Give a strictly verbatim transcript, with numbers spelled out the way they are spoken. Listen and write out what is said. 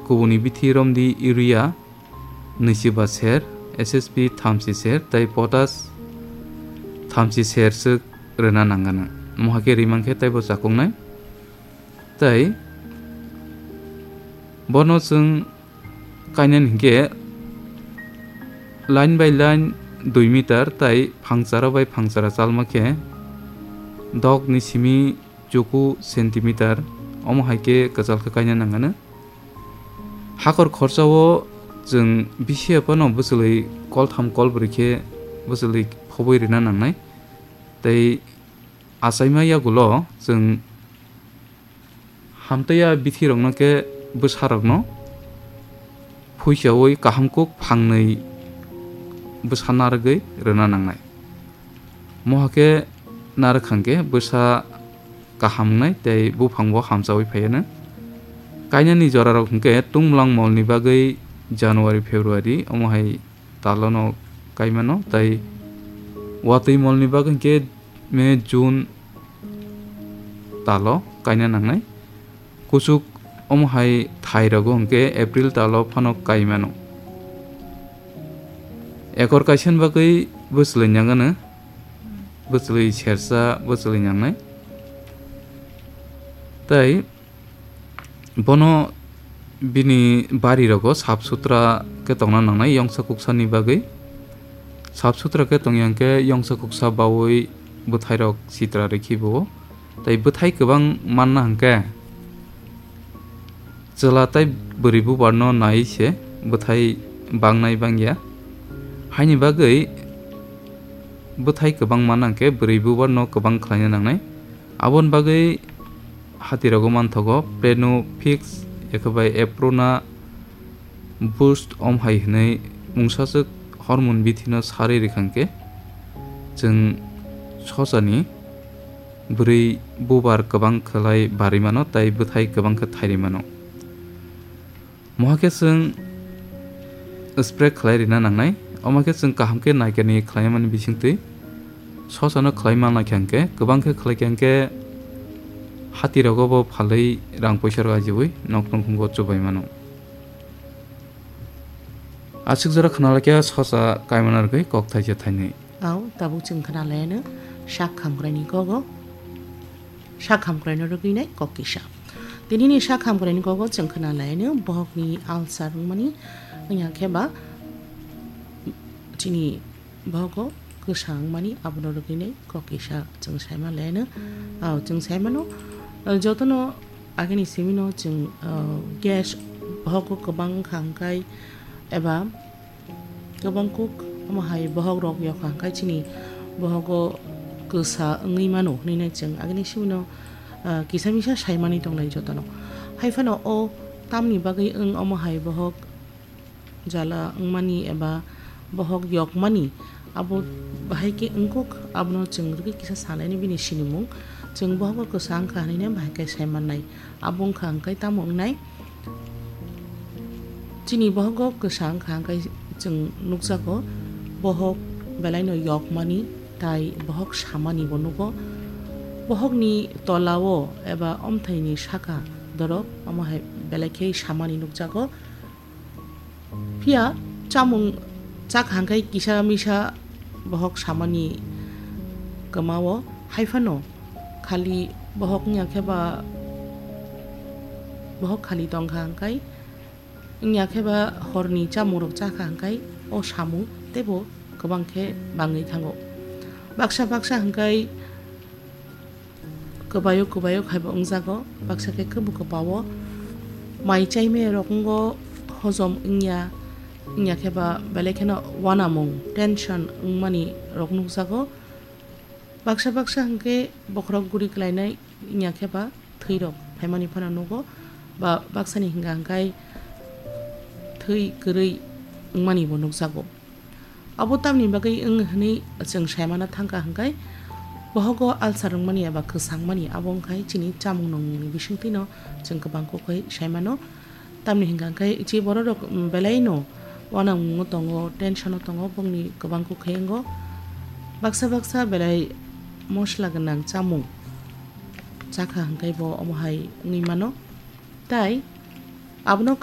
Kubuni bithi romdi urea nwichiba ser, S S P thamchi ser, tei potash thamchi ser swk rwna nangano. Mohake rimang khe teibo chakoknai. Tei bono chwng kainani hinkhe line by line dui meter tei phangchara bai phangchara chalma khe dokni simi chuku centimeter, omo hai khe kwchal khe kaina nangano. Hakor khorsao chwng bisi phano bwchwlwi koltham kolbrwi khe bwchwlwi phobwi rwna nangnai. Tei achaima yagulo chwng hamtaiya bithirokno khe bwsarokno phuichaui kaham kuk phangnwi bwsa narwgwi rwna nangnai. Mohakhe narwk hwnkhe bwsa kaham wngnai tei buphangbo hamchaui phaiyanw. Kainani jorarok hwnkhe tungmwlang molni bagwi January, February omo hai talono kaimano, tei watwi molni bagwi hwnkhe May, June talo kaina nangnai. Kuchuk omo hai thai rogo hwnkhe April talo phano kai mano. Ekor kaisa ni bagwi bwchwlwi nangano, bwchwlwi sersa, bwchwlwi nangnai. Tei bono bini bari rogo sap sutra khe tongna nangnai yongsa kuksa ni bagwi. Sap sutra khe tongya hwnkhe yongsa kuksa baui bwthai rok sitra rikhi bo. Tei bwthai kwbang manna hwnkhe chwla tei bwrwi bubar no nai se bwthai bangnai bangya. Haini bagwi bwthai kwbang manna hwnkhe bwrwi bubar no kwbang khlaina nangnai. Aboni bagwi hati rogo manthogo Plano Fix, ekhe bai Aprona Boost om hai hwnwi mungsaswk hormone bithino sarwi rwkha hwnkhe, chwng sosani bwrwi bubar kwbang khlai barwi mano tei bwthai kwbang khe thairwi mano. Mohakhe chwng spray khlai rwna nangnai, omo khe chwng kaham khe naikani khlaimani bisingtwi sosano khlai manlai kha hwnkhe, kwbang khe khlai kha hwnkhe hati rogo bo phalwi rang poisa rok ajiui nok nokmungo chubai mano. Aswk jora khna laikha sosa kaimana rwgwi kok thaisa thainwi. Au, tabuk chwng khna laianw sak hamkraini kogo. Sak hamkraino rwgwi nai kok kisa. Tinini sak hamkraini kogo chwng khna laianw bohokni ulcer wngmani wngya khe ba chini bohogo kwsa wngmani abono rwgwi nai kok kisa chwng saima laianw. Au, chwng saimano, uh, jotono agini simino chwng, uh, gas bohogo kwbang wngkha hwnkhe eba kwbang kuk omo hai bohok rok yokha hwnkhe chini bohogo kwsa wngwi mano hwnwi nai chwng agini simino, uh, kisa misa saimani tongnai jotono. Haiphano o tamni bagwi wng omo hai bohok jala wngmani eba bohok yokmani, abo bahai khe wngkuk, abono chwng rwgwi kisa sanaini bini sinimung. Chwng bohogo kwsa wngkha hwnwi nai bahai khe sai mannai. Abo wngkha hwnkhe tamo wngnai? Chini bohogo kwsa wngkha hwnkhe chwng nukjago, bohok belaino yokmani tai bohok samani bo nugo. Bohokni tolao eba omthaini saka dorop omo hai belai khe samani nukjago. Phiya chamung chakha hwnkhe kisa misa bohok samani kwmao, haiphano khali bohok wngya khe ba bohok khali tongkha hwnkhe, wngya khe ba horni chamungrok chakha hwnkhe o samung teibo kwbang khe bangwi thango. Baksa baksa hwnkhe kwbaio kwbaio khaibo wngjago, baksa khe khe bo kwpao mai chaimaya rok wngo, hojom wngya, wngya khe ba belai kheno uanamung, tension wngmani rok nukjago. Baksa baksa hwnkhe bokhorok guri klainai wngya khe ba thwi rok phaimani phano nugo, ba baksani hwnkha hwnkhe thwi kwrwi wngmani bo nukjago. Abo tamni bagwi wng hwnwi chwng saimano thangkha hwnkhe, bohogo ulcer wngmani eba kwsangmani abo wngkha chini chamung nungmungni bisingtwino chwng kwbang kok khai saimano. Tamni hwnkha hwnkhe chi bororok belaino uanamungo tongo, tensiono tongo, bongni kwbang kok khai wngo. Baksa baksa belai mosla gwnang chamung chakha hwnkhe bo omo hai wngwi mano. Tai abono